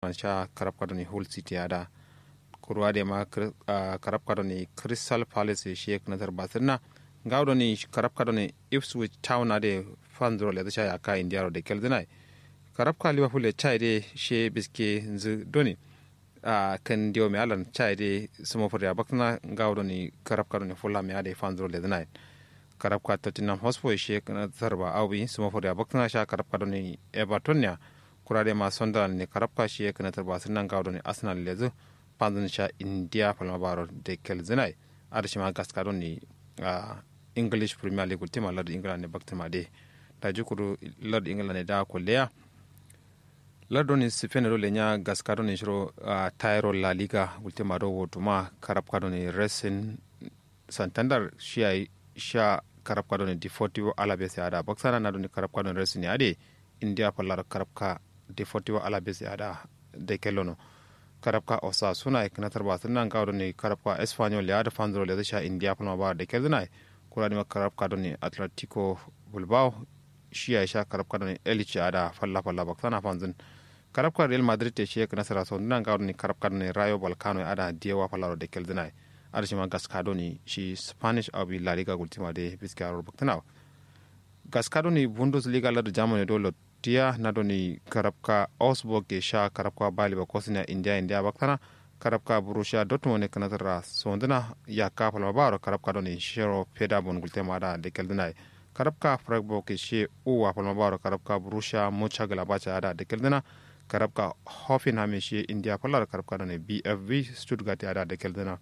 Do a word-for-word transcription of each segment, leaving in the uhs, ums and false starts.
sha karabka done hull city ada. Kuru adai ma karabka done crystal palace shi ye kǝnatar basǝrna. Ngawo done karabka done ipswich town adai fanzuro lezǝ sha yakka indiya ro de kelzǝnai. Karabka liverpool ye chai de shi ye biske nzǝ done. Kǝn diyo me allan chai de sǝmo fǝrya baktǝna ngawo done karabka done fulham ye adai fanzuro lezǝnai. Karabka tottenham hotspur ye shi ye kǝnatar ba awi sǝmo fǝrya baktǝna sha karabka done everton ya. Kura dai ma sunderland ne karabka shi ye kǝnatar ba sǝnna ngawo done arsenal lezǝ. Fanzǝn sha indiya falma baro de kelzǝnai. Adǝ shima gaska done english premier league gultǝma lardǝ england ne baktǝma de. Daji kuru lardǝ england ne da kolleya. Lardǝ done spain do lenya gaska done shiro tayiro la liga gultǝma do wotuma karabka done racing santander shi yayi sha karabka done deportivo alaves ya ada baksana na done karabka done racing ya ade. Indiya fallar karabka deportivo alaves ya ada. De kellono karabka osasuna ye kǝnatar ba sǝnna ngawo done karabka espanyol ya ada fanzuro lezǝ sha indiya falma ba de kelzǝnai. Kura dima karabka done atletico bilbao shi yayi sha karabka done elche ada falla falla baksana fanzǝn. Karabka real madrid te shi ye kǝnasara sonduna ngawo done karabka done rayo balkano ye ada diyewa fallaro de kelzǝnai. Adǝ shima gaska done shi spanish awi la liga gultǝma de biske aror baktǝna. Gaska done bundesliga lardǝ germany do lottiya na done karabka augsburg ye sha karabka bayer leverkusen ya indiya indiya baktana. Karabka borussia dortmund ye kǝnasara sonduna yakka falma baro karabka done shiro federbund gultǝma ada de kelzǝnai. Karabka freiburg ye shi ye uwa falma baro karabka borussia mönchengladbach ya ada de kelzǝna. Karabka hoffenheim ye shi ye indiya fallaro karabka done bfv stuttgart ya ada de kelzǝna.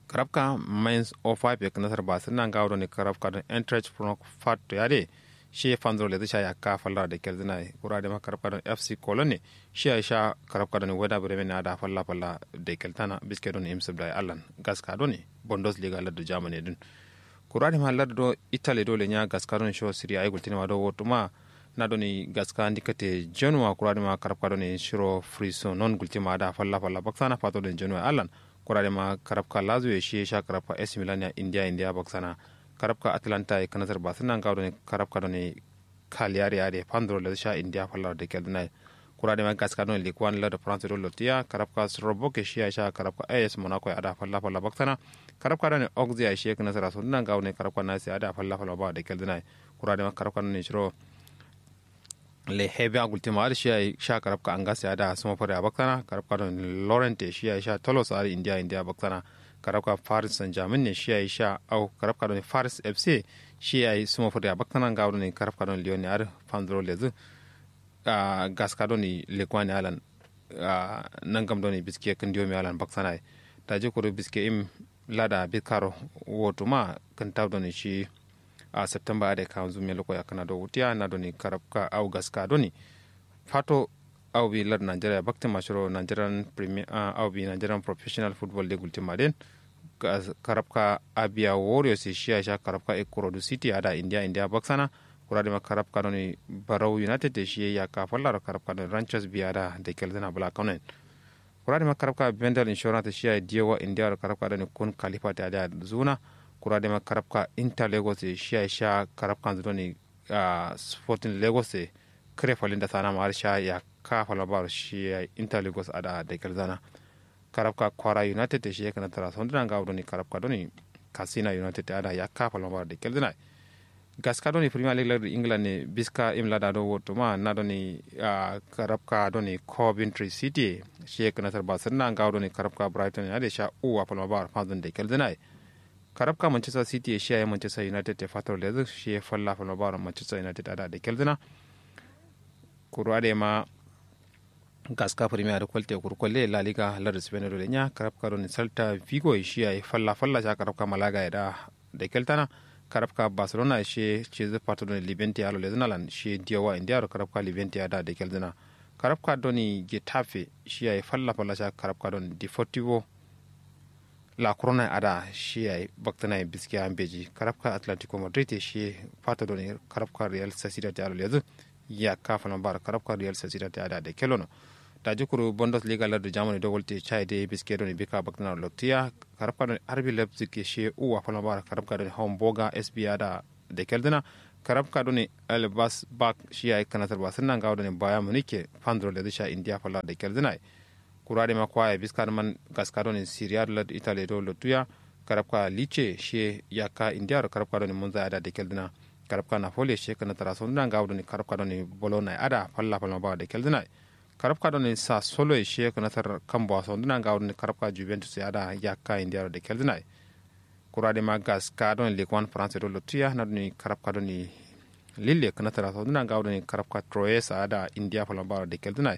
Karabka mainz o five ye kǝnasar ba sǝnna ngawo done karabka done eintracht frankfurt ya de. Shi ye fanzuro lezǝ sha yakka fallara de kelzǝna ye kura dima karabka done fc cologne shi yayi sha karabka done werder bremen ya ada falla falla de keltana biske done imsǝbda ye allan. Gaska done bundesliga lardǝ germany dǝn. Kura dima lardǝ do italy do lenya gaska done shiro serie a ye gultǝnima do wotuma. Na done gaska ndikate genoa kura dima karabka done shiro frisonone gultǝma ada falla falla baksana fato done genoa ye allan. Kura dima karabka lazio ye shi ye sha karabka ac milan ya indiya indiya baksana. Karabka atlanta ye kǝnasar ba sǝnna ngawo done karabka done cagliari ya de fanzuro lezǝ sha indiya fallara de kelzǝnai. Kura dima gaska done ligue one lardǝ france do lottiya karabka strasbourg ye shi yayi sha karabka as monaco ye ada falla falla baksana. Karabka done auxerre ye shi ye kǝnasara sonduna ngawo done karabka nice ye ada falla falla ba de kelzǝnai. Kura dima karabka done shiro le hebe a gultǝma adǝ shi yayi sha karabka angers ya ada sǝmo fǝrya baksana karabka done lorient ye shi yayi sha toulouse adǝ indiya indiya baksana. Karabka paris saint germain ne shi yayi sha au karabka done paris fc ye shi yayi sǝmo fǝrya baksana ngawo done karabka done lyon ye adǝ fanzuro lezǝ. Gaska done ligue one ye allan nangam done biske kǝn diyo me allan baksana ye. Daji kuru biske im lada bikkaro wotuma kǝntaw done shi. A september adai kanzu me loko yakkǝna do wutiya na done karabka au gaska done fato au bi lar nigeria baktǝma shiro nigerian premier au bi nigerian professional football de gultǝma den. Karabka abia warriors ye shi yayi sha karabka ikorodu city ada indiya indiya baksana. Kura dima karabka done barau united ye shi yayi yakka fallaro karabka done ranchers biya da de kelzǝna bla kano yen. Kura dima karabka bendal insurance shi yayi diyewa indiya ro karabka done kun kalifat ye adǝ ya zuna. Kura dima karabka inter lagos ye shi yayi sha karabkanzǝ done sporting lagos ye kǝre falin da sana ma har sha yakka falma baro shi yayi inter lagos ada de kelzana. Karabka kwara united ye shi ye kǝnatara sonduna ngawo done karabka done katsina united ada yakka falma baro de kelzana. Gaska done premier league lardǝ england ne biska im lada do wotuma na done karabka done coventry city ye shi ye kǝnatar ba sǝnna ngawo done karabka brighton ye adǝ ye sha uwa falma baro fanzǝn de kelzana ye. Karabka manchester city ye shi yayi manchester united ye fatoro lezǝ shi ye falla falma baro manchester united ada de kelzǝna. Kuru adai ma gaska premier adǝ kolte kuru kolle la liga lardǝ spain do lenya karabka done salta vigo ye shi yayi falla falla sha karabka malaga ye da. De keltana karabka barcelona ye shi ye cizǝ fato done levante ye alo lezǝna lan shi ye diyowa indiya ro karabka levante ye ada de kelzǝna. Karabka done getafe shi yayi falla falla sha karabka done deportivo la corona ye ada shi yayi baktǝna ye biskiya mbeji karabka atlantico madrid ye shi ye fato done karabka real sociedad ye alo lezǝ. Yakka falma baro karabka real sociedad ye ada de kellono. Daji kuru bundesliga lardǝ germany do walte chai de biske done bika baktǝna loktiya karabka done rb leipzig ye shi ye uwa falma baro karabka done hamburger sb ada de kelzǝna. Karabka done elbas bak shi yayi kǝnatar ba sǝnna ngawo done baya munike fanduro lezǝ sha indiya falla da kelzǝnai. Kura dai ma kwaya biska dǝ man gaska done siriya dǝ lad italiya do lottuya. Karabka lice shiye yakka indiya do karabka done munza ada da kelzǝna. Karabka napoli shiye kǝnatar a sonduna ngawo done karabka done bolona ada falla falla ba da kelzǝnai. Karabka done sa solo shiye kǝnatar kambo a sonduna ngawo done karabka juventus ada yakka indiya do da kelzǝnai. Kura dai ma gaska done league one france do lottuya na done karabka done lille kǝnatar a sonduna ngawo done karabka troyes ada indiya falla ba da kelzǝnai.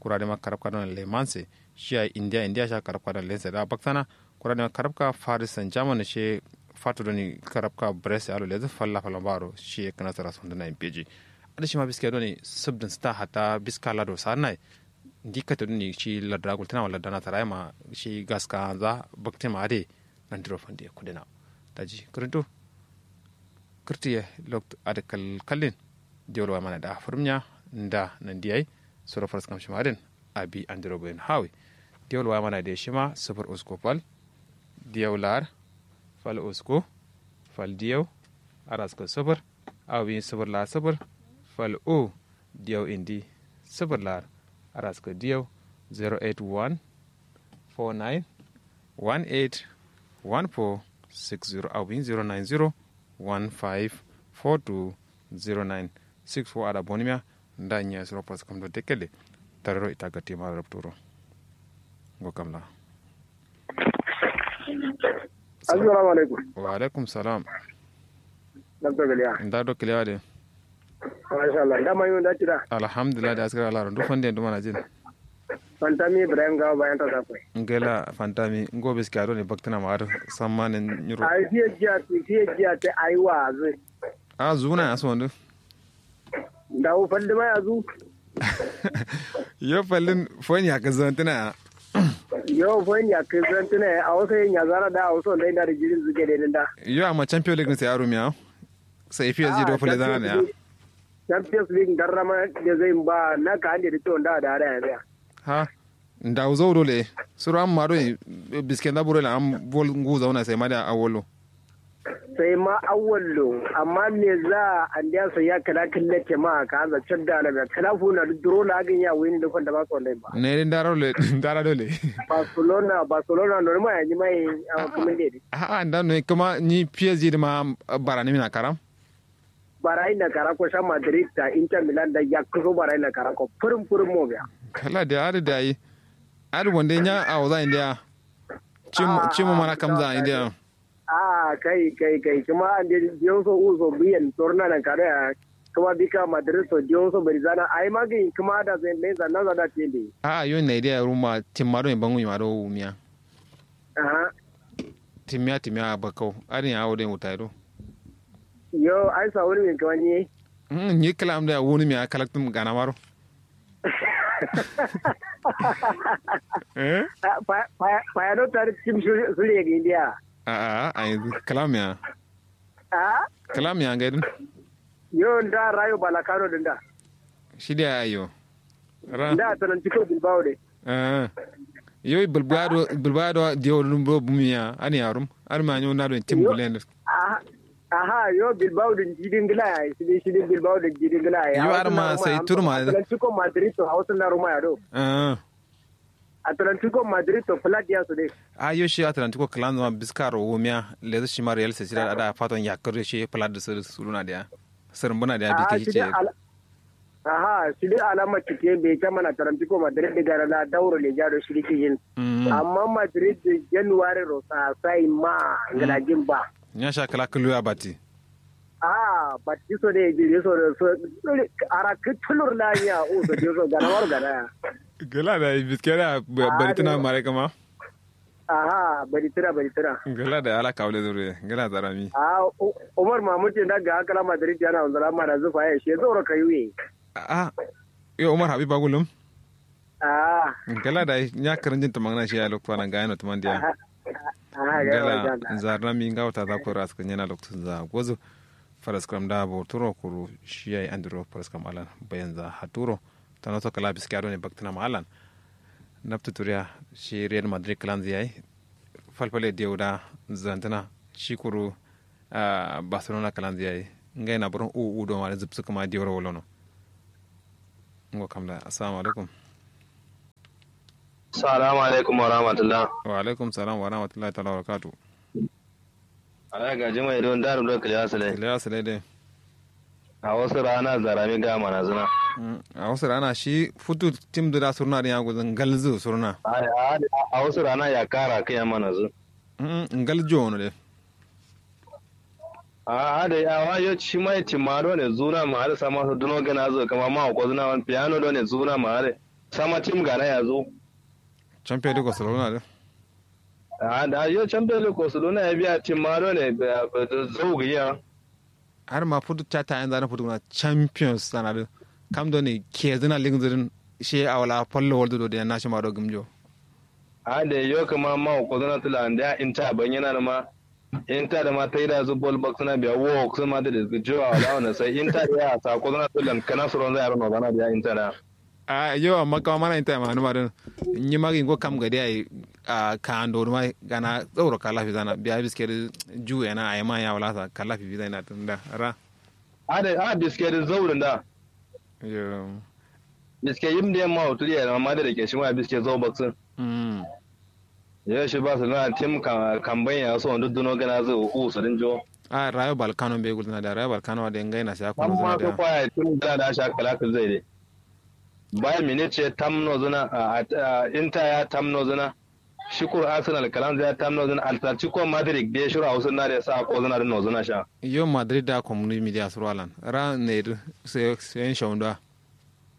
Kura dai ma karabka done lemanse shiya indiya indiya sha karabka done lense da baktana. Kura dai ma karabka faris san jaman shiye fato done karabka brest alo lezǝ falla falla ba ro shiye kǝnatar a sonduna impeji. Adǝ shima biske done subdin sita hatta biska lado sarnai. Ndi kate done shi lardǝ a gultǝna ma lardǝ a nasara yema shi gaska anza baktin ma adǝ ye. Nandiro fande kudena daji kǝrintu. Kǝrtiye loktu adǝ kal kallin. Diyol waya mana da fǝrmiya nda nandi yayi. Soro faraskam shima adǝ yen abi andiro bayin hawi. Diyol waya mana da shima sufur usku fal diyau lar fal usku fal diyau araska sufur. Awi sufur lar sufur fal u diyau indi sufur lar araska diyau zero eight one four nine one eight one four six zero awi zero nine zero one five four two zero nine six four ada bonimiya. Nda nyi asuro faraskam do dekele tarero ita gati ma rabturo. Ngo kamla. Assalamu alaikum. Wa alaikum salam. Nda do kiliya de. Masha Allah nda mayu nda tida. Alhamdulillah da askara laro ndu fande ndu mana jin. Fantami ibrahim gawa bayan ta safai. Ngela fantami ngo biski ado ne baktina ma ado samma ne nyuro. Ai fiye jiya ti fiye jiya ti ai wa azu. A zuna ya so ndu. Ndawu falli ma ya zu. Yo fallin foin ya kazantina ya. Yo foin ya kazantina ya a wasu yin ya zara da a wasu wanda ina da jirin zuke da da. Yo amma champion league sai arumiya. Sai fiye zai do falle zana ne ya. Champions league darrama da zai ba na ka hande da ciwon da da da ya biya. Ha. Ndawu zau dole suru amma do biske nda buro la am bol ngu zauna sai ma da awolo. Sai ma awallo amma me za a ndiya sai ya kala kallake ma ka za cadda na me kala funa duro na gin ya wini da kwanda ba so ndai ba. Ne din dara dole dara dole. Barcelona barcelona no ma ya ni mai a kuma ne. A'a nda no kuma ni psg da ma barani mina karam. Barai na kara ko sha madrid ta inter milan da ya kuso barai na kara ko furum furum mo biya. Kala da ari da yi. Ari wande nya a waza indiya. Cimo mana kamza indiya. A kai kai kai kuma an de dioso uso biyan torna nan kare ya. Kuma bika madrid so dioso bari zana ai magi kuma da zai mai zanna zana tende. A yo na idiya ruma timma do bangu ma do wumiya. Aha. Timmiya timmiya bakau adin ya wudin wutai do. Yo ai sa wuri min kawani. Nyi kalam da wuni mi a kalaktum gana maro. Eh? Fayano tare tim suri ya ga indiya. A a a yanzu kalam ya. A? Kalam ya ga din. Yo nda rayo balakano din da. Shi da ayo. Nda atlantico bilbao de. Yo bilbao bilbao diyo lumbo bumiya ani arum. Arma nyo na don tim gulen. Aha yo bilbao din jidin gila ya shidin shidin bilbao din jidin gila ya. Yo arma sai turma. Atlantico madrid to hausa na ruma ya do. Atlantico madrid to flat ya su de. A yo shi atlantico clan zama biskaro womiya lezu shi ma real sociedad ada faton yakar shi flat da su suluna da. Sǝrǝmbǝna dǝ ya bikke shi ce. Aha shidǝ alama cikke be caman atlantico madrid dǝ gara la dauro leja do shidǝ kijin. Amma madrid dǝ january ro sasai ma ngǝlajin ba. Nya sha kǝla kǝlu ya batti. Aha batti so dǝ jiri so dǝ so arakǝ tulur la nya u so dǝ so gana maro gana ya. Gǝla da biske da bari tǝna mare kǝma. Aha bari tǝra bari tǝra. Ngala da ala kawle zuru ye ngala zarami. Aha umar mahmud ye nda ga kala madrid yana wanzala mana zufa ye she zoro kayu ye. Aha yo umar habib agulum. Aha ngala da nya kǝrǝnjin tǝmangna she ya loktu ana ga yano tǝmandiya. Aha ngala zarami nga wuta za koro askǝ nyena loktu za gozu. Faraskǝram da boturo kuru shi yayi andiro faraskǝram alan bayanza haturo. Tano so kǝla biskiya done baktǝna ma allan. Nabtǝ turiya shi real madrid kǝlanzǝ yayi. Falfale diyau da zantǝna shi kuru barcelona kǝlanzǝ yayi. Ngai na buron u u do ma da zubsu kuma diwar wolono. Ngo kam da assalamu alaikum. Assalamu alaikum wa rahmatullah. Wa alaikum salam wa rahmatullahi ta'ala wa barakatuh. Ala gaji mai don daru do kiliya sale. Kiliya sale de. A wasu rana zarami ga mana zuna. A wasu rana shi futu tim da surna din ya guzun galzu surna. A wasu rana ya kara kai mana zu. Ngal jono de. A a da ya wa yo shi mai timaro ne zuna ma har sama su duno gana zo kama ma ko zuna wan piano do ne zuna ma har sama tim gana ya zo. Champion de ko surna de. A da yo champion de ko surna ya biya timaro ne zau giya. Har ma futu chata yanzu na futu na champions sana din. Kam do ne ke zina ligin zirin shi a wala fallo waldo do da na shi ma do gimjo. A da yo kama ma ko zana tula da inta ban yana ma inta da ma taida zu bol box na biya wo sun ma da jo a wala wannan sai inta da ya sa ko zana tula kana suron zai aro no bana biya inta da. A yo amma kama mana inta ma numa din. Nyi magi ngo kam gadi ai. A ka ando ma gana tsauro kala fi zana biya biske da ju yana ai ma ya wala sa kala fi zana tun da ra. A da a biske da zauro da. Yo. Biske yim da ma wutu ya ma da ke shi ma biske zau box. Yo shi ba su na tim kamban ya so duk duno gana zai uku su din jo. A rayo balkano be gulna da rayo balkano da ngai na sai ko amma zuna so da kwaya tim gana da sha kala kal zai dai. Bayern Munich ya tamno zuna a inter ya tamno zuna. Shi kur Arsenal kalan zai ya tamno zuna Atletico Madrid da ya shiro a wasu na da ya sa ko zuna da no zuna sha. Yo Madrid da community media surwalan ra ne sai sai shaunda.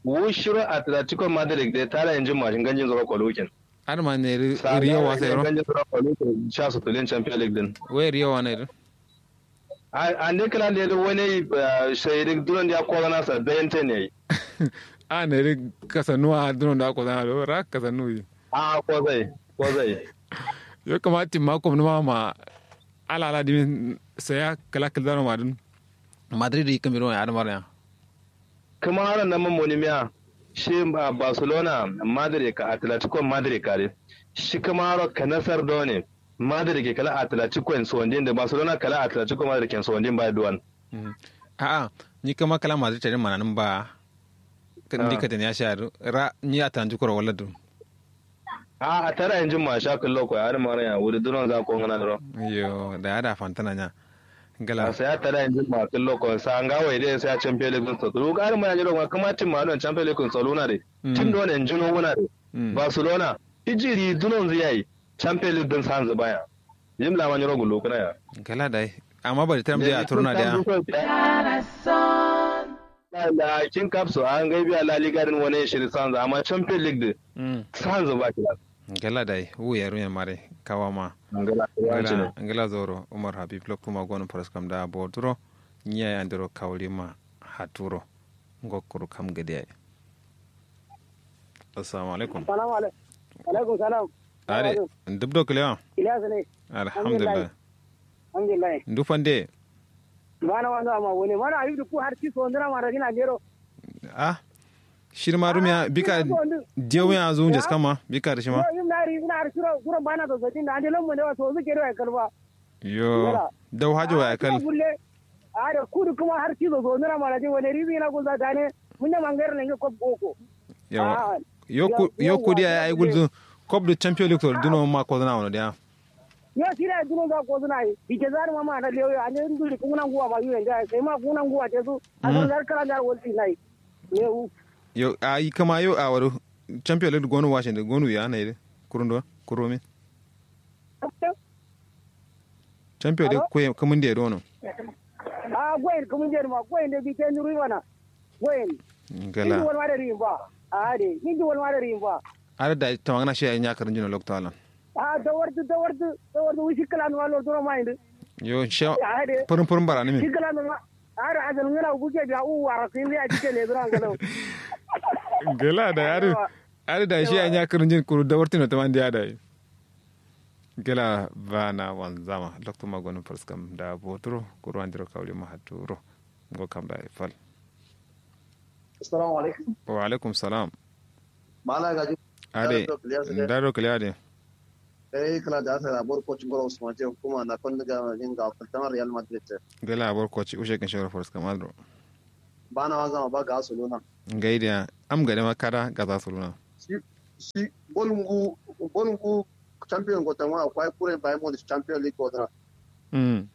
Wu shiro Atletico Madrid da tara injin mashin ganjin zuro kolukin. Adama ne riyo wasa yaro. Ganjin zuro kolukin sha su tulin champion league din. Wai riyo wa ne. Ande kala lele wani sai rik duron da ya kola nasa da yante ne. A ne rik kasa nuwa duron da kola na ra kasa nuyi. A kozai kozai. Yo kamati ma kom numa ma ala ala dimin saya kala kala dano madun. Madrid yi kamiro ya adamar ya. Kǝma aro namma monimiya shi barcelona madrid ka atletico madrid ka dǝ shi kǝma aro kanasar done madrid ke kala atletico en sondin dǝ barcelona kala atletico madrid ke en sondin bai duwan. A'a ni kǝma kala madrid tadin mananǝm ba. Ndi kadin ya sha dǝ ra ni atletico ro wala dǝ. A'a tara injin ma sha kǝllo ko ya adǝ mara ya wuri dunon za ko ngana dǝ ro. Yo da ya da fantana nya. Ngala sai ya tada injin ma kǝllo ko sa nga wai dai sai ya champion league so turu ga adǝ mara nya dǝ ro kǝma tim ma don champion league so luna dai. Tim don injin wuna dai. Barcelona ijiri dunon zu yayi champion league dǝn sanzu baya. Yim lama nyiro gullu kǝna ya. Ngala dai amma bari tam dai a turna dai. La kin kap so a ngai biya la liga din wane shiri sanza amma champion league din sanza ba kila. Ngala dai wu yaru yan mare kawa ma. Ngala zoro umar habib loktu ma gono faras kam da boturo. Nya ya ndiro kawri ma haturo. Ngo kuru kam gade ai. Assalamu alaikum. Salamu alaikum. Alaikum salam. Are dubdo kilewa. Kilewa sane. Alhamdulillah. Alhamdulillah. Ndu fande. Bana wando amma wone mana ayu du ku har ci so ndira mara dina gero. Ah. Shirma rumiya bika. Diyo ya zu jas kama bika da shima. Yim na ri na har shiro guro bana so so din da ande lon mo ne wa so zu gero ya kalba. Yo dau hajo wa ya kal. Are kudu kuma har ci so so ndira mara dina wone ribi na gunza dane. Mun ne mangare ne ko boko. Yawa. Yo ku yo ku dia ai gulzu. Kop du champion league to duno ma ko na wono dia. Yo sira duno ga ko na yi bike zar ma ma na lewo ya ne ndu ku na nguwa ma yu nda sai ma ku na nguwa te su. A zar kala ngar wol ti nai. Yo ai kama yo a waro champion league gonu washin de gonu ya nai de. Kurundo kuromi. Champion de kwe kamun de dono. A gwen kamun de ma gwen de bi ten ruwana. Gwen. Ngala. Indi wal ma de rimba. A de indi wal ma de rimba. Ada da tamangana shi nya karin jino lokto alan. A dawardu dawardu dawardu wishi kala no walo duro ma indi. Yo sha. Purum purum barani mi. Shi kala no ma. Ada azal ngala buke biya u wara sin ya jike le duro ngalo. Ngala da ada. Ada da shi nya karin jin kuru dawartino tamandi ada. Gela bana wanzama loktu ma gonum faskam da boturo kuru andiro kawli ma haturo. Ngo kam da fal. Assalamu alaikum. Wa alaikum salam. Mala gaji. Ade. Ndaro kiliya de. Dai kǝla da asa da bor koci ngoro usman ce hukuma na kon ga yin ga kwaltama real madrid ce. Gala bor koci ushe kin shoro force kamar do. Bana wa zama ba ga suluna. Ngai da am gade ma kada ga za suluna. Shi shi bolungu bolungu champion go tama akwai kure bai mo champion league go dana. Mm.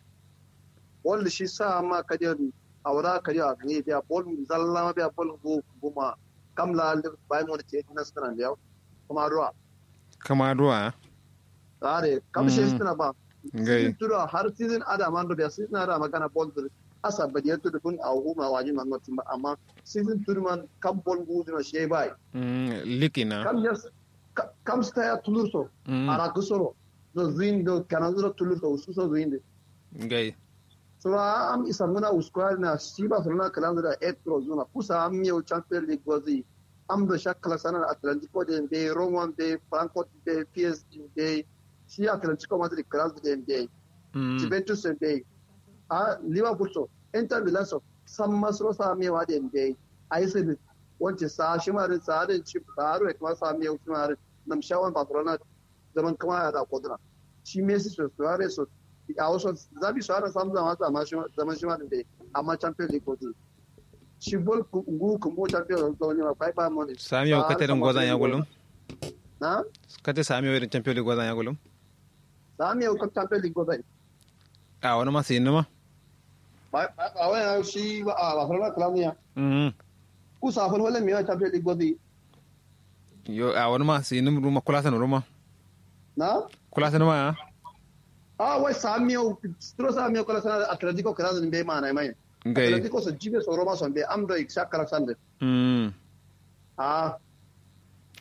Bol shi sa ma kadiyo awra kadiyo a gani biya bol zalla ma biya bol gu guma kam la bai mo ce na suna biya. Kuma ruwa. Kama duwa. Are kam shi suna ba. Ngai. Season tudu har season ada man do biya season ada magana bol dur asa badiya tudu kun a huma wajin man mutum ba amma season tudu man kam bol gu duna shi bai. Mm, likina. Kam yes. Kam sta ya tulurso. Mm. Ara gusoro. Do zuin do kana zuro tulurso ususo zuin de. Ngai. Sura am isa muna uskwari na shi Barcelona kalanzu da eight pro zuna kusa am yau champion league gozi. Am do shakala sanar atlantico de be roma be frankfurt be psg be shi atlantico madrid kalanzu de be. Mm. Juventus de be. A liverpool so inter milan so san masro sa am yau de be. A yi sai wance sa shi marin sa da ci ba ro kuma sa am yau shi marin nam shawan barcelona zaman kuma ya da koduna. Shi messi so suarez so a wasu zabi suarez sam zama zama shi zaman shi ma din dai. Amma champion league ko din shi bol ngu kumbo champion league ko ne ma bai ba mo ne. Sami yau kate din gozan ya gulum. Na kate sami yau din champion league gozan ya gulum. Sami yau kan champion league gozan. A wani ma sai numa. Ba ba wani shi ba a barcelona club ne ya. Mhm. Kusa fal wala me ya champion league gozan. Yo a wani ma sai num ruma kula san ruma. Na kula san ma ya. A wai samiyo stro samiyo kala sana atletico kala sana be mana mai. Ngai. Atletico so jibe so roma son be am do iksa kala sande. Mm. A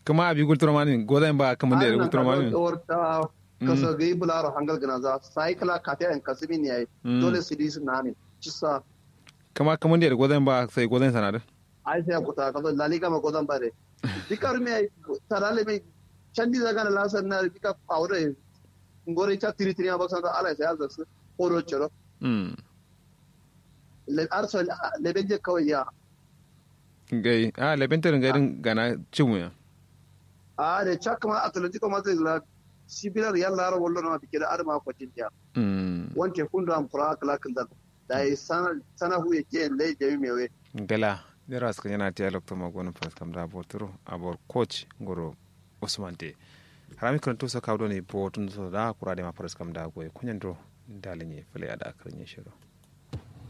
kuma abi gulturo mani goda ba kuma de gulturo mani. Orta kasa gai bularo hangal gana za sai kala kate an kasimi ne ai. Mm. Dole su di su nani cisa. Kuma kuma de goda ba sai goda sana da. Ai sai kuta kaso laliga ma godan bare. Bika rumi ai tarale mai candi zaga na lasar na bika aure. Ngore cha tiri tiri abak santa ala sai azak su oro choro. Mm. Le arso le benje kawai ya. Gai a le bente rin garin gana cimu ya. A de chak ma atletico madrid la sibila real la ro wollo na bikira adama ko jinja. Mm. Wonte kundo am kura kala kala. Dai sana sana hu ye ke lai jami mewe. Gala dero aska yana tiya lokto ma gono faras kam da boturo abor coach ngoro usman te. Harami kan to saka doni botun so da kura de ma faras kam da goye kunyan do. Dalin ye fale ada karin ye shiro.